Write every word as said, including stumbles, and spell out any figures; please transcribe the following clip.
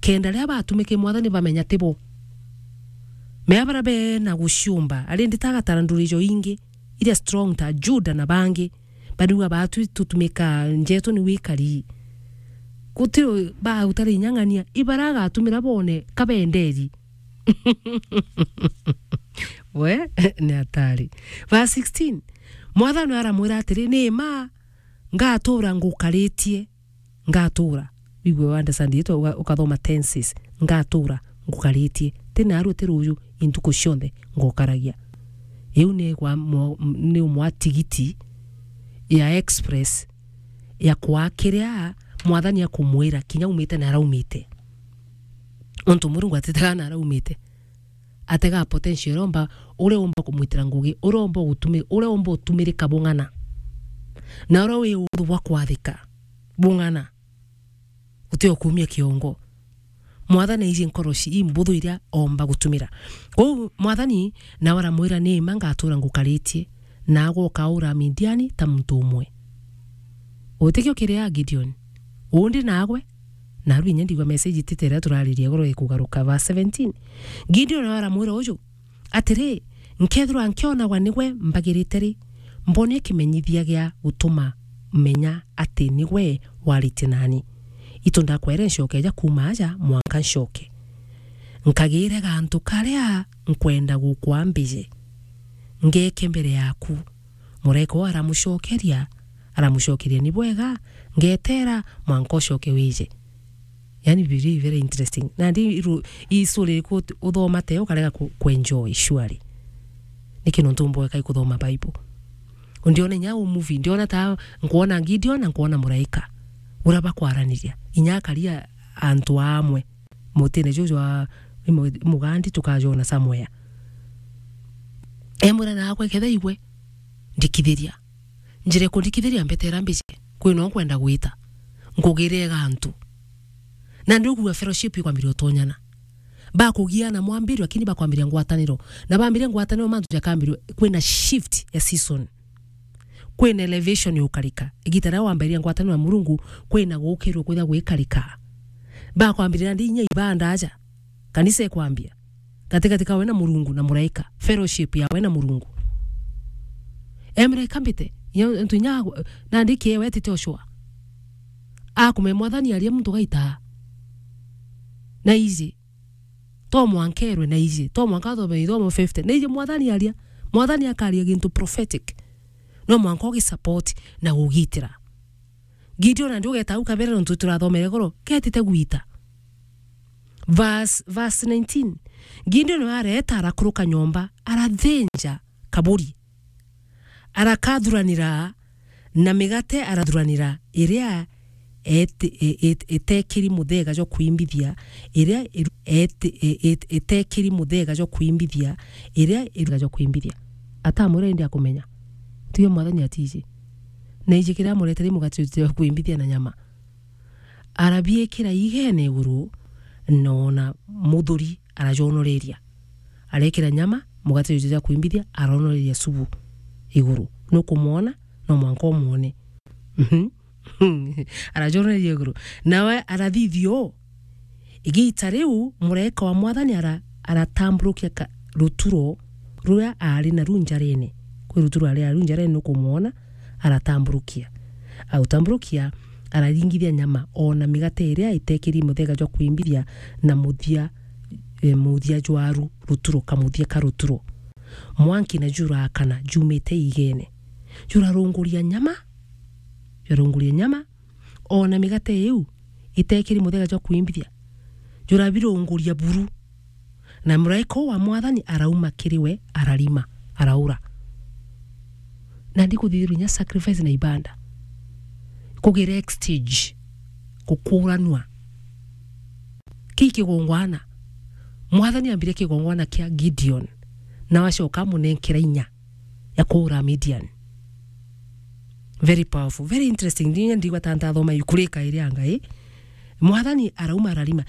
Kenda riria batumike Mwathani bamenya ti bo. Mea baria bena guciumba, ari nditagatara nduri jo ingi, iria strong ta Juda na bangi, bariuga baatwi tutumika njetu ni wikari. Guti baa utari inyang'ania, ibara agatumira bone kabenderi. We, ni atari. Verse sixteen, Mwathani aramwira atiri, "Ni ma, ngatura ngukaritie, ngatura." Wigue, understand it, uga-, ukathoma tenses. "Ngatura ngukaritie. Ti naarua ti ruuju, intuku cionthe ngukaragia." Iu ni gwa mo-, ni umwe wa tigiti ya express ya kwaa kiria Mwathani akumwira, kinya umite na araumite. Ontu Murungu atitaga na araumite. Atega potential uria umba, uria umba kumwitira ngugi, uria umba gutumi-, uria umba utumirika bung'ana. Na uria wi uthu bwa kwathika bung'ana. Guti o kuumia kiongo. Mwathani aiji nkoroci imbuthu iria omba gutumira. Kwou Mwathani nawe aramwira, "Ni ma ngatura ngukaritie, naagwe ukaura Midiani ta muntu umwe." Utikio kiria Gideon. Undi naagwe, naru inya ndigwa message itite iria turaririe iguru ikugaruka. Verse seventeen. Gideon nawe aramwira uju, atiri, "Nkethirwa nkionagwa nigwe mbagirite ri, mbonie kimenyithia gia gutuma menya ati nigwe waritie nani. Itu ndakwere ncoke ja kuuma aja mwanka ncoke. Nkagire gantu karia nkwenda gukwambije. Ngeke mbere yaku." Muraika uu aramucokeria, aramucokeria, "Ni bwega, ngetera mwanka ucoke wije." Yani, very, very interesting. Nandi iru-, i story iriku ut-, uthoma te ukarega ku-, kuenjoy, surely. Niki nontu mbweka ikuthoma Bible? Ndiona inya u movie, ndiona ta nkwona Gideon na nkwona muraika. Uria bakwaraniria. Inya akaria antu amwe. Mutine juju jwa imu-, mugandi tukajona somewhere. Emwira, "Naagwe ketha igwe, ndikithiria." Njira ikundikithiria mbetera mbiji, kwina ukwenda gwita. Nkugire gantu. Na ndi ukuga fellowship ikwambiria utonyana. Bakugiana mwambirio, lakini bakwambiria ngwataniro. Na bambiria ngwataniro, mantu jakambirio, kwina shift ya season. Kwina elevation yukarika. Igita riria wambiria ngwataniro na Murungu, kwina gukirwo kwitha gwikarika. Bakwambiria ndi inya ibanda aja. Kanisa ikwambia. Gatigati kawe na Murungu na muraika. Fellowship yawe na Murungu. Emre kambite, ya, ntu inya, nandi kiewe tite ucua. Akume Mwathani aria muntu gaita. Na iji. To mwanka erwe na iji. To mwanka athome ithomo fifty. Na iji Mwathani aria. Mwathani akaria gintu prophetic. No mwanka ugisupport na ugitira. Gideon nandi ugeta au kabere nontu turathomere iguru, ketite gwita. Verse, verse nineteen. Gideon areta arakuruka nyomba, arathinja kaburi. Arakathuranira na migate, arathuranira iria ete-, e-, e-, etekiri muthega jwa kwimbithia, iria iru-, ete-, e-, e-, etekiri muthega jwa kwimbithia, iria iru-, jwa kwimbithia. Atamwira indi akumenya. Tiwe Mwathani atiji. Na iji kiria amuretere i mugate jwa kwimbithia na nyama. Arabiikira igene iguru, na ona muthuri arajonoreria. Arekira nyama, mugate juju jwa kwimbithia, aronoreria subu iguru. Nukumwona, no mwanka umwone. Mhm. Arajonoreria iguru. Nawe arathithia uu. Igita riu, muraika wa Mwathani ara-, aratamburukia ka-, ruturo ruria aari naru njarene. Kwi ruturo aari naru njarene, nukumwona, aratamburukia. Autamburukia, araringithia nyama, ona migate iria itekiri muthega jwa kwimbithia, na muthia, e, muthia jwaru ruturo, kamuthia ka ruturo. Mwanki na jurakana, jumite igene. Jurarunguria nyama, jurarunguria nyama, ona migate iu itekiri muthega jwa kwimbithia, jurabirunguria buru. Na muraika uu wa Mwathani arauma kiri we, ararima, araura. Na ndikuthithirwa inya sacrifice na ibanda. Kugira exchange, gukuranua. Ki kigongwana. Mwathani ambire kigongwana kia Gideon, na wacoka amunenkera inya ya kuura Midian. Very powerful, very interesting. Ndinya ndigwa ta ntathoma ikurika iria ngai. Mwathani arauma ararima.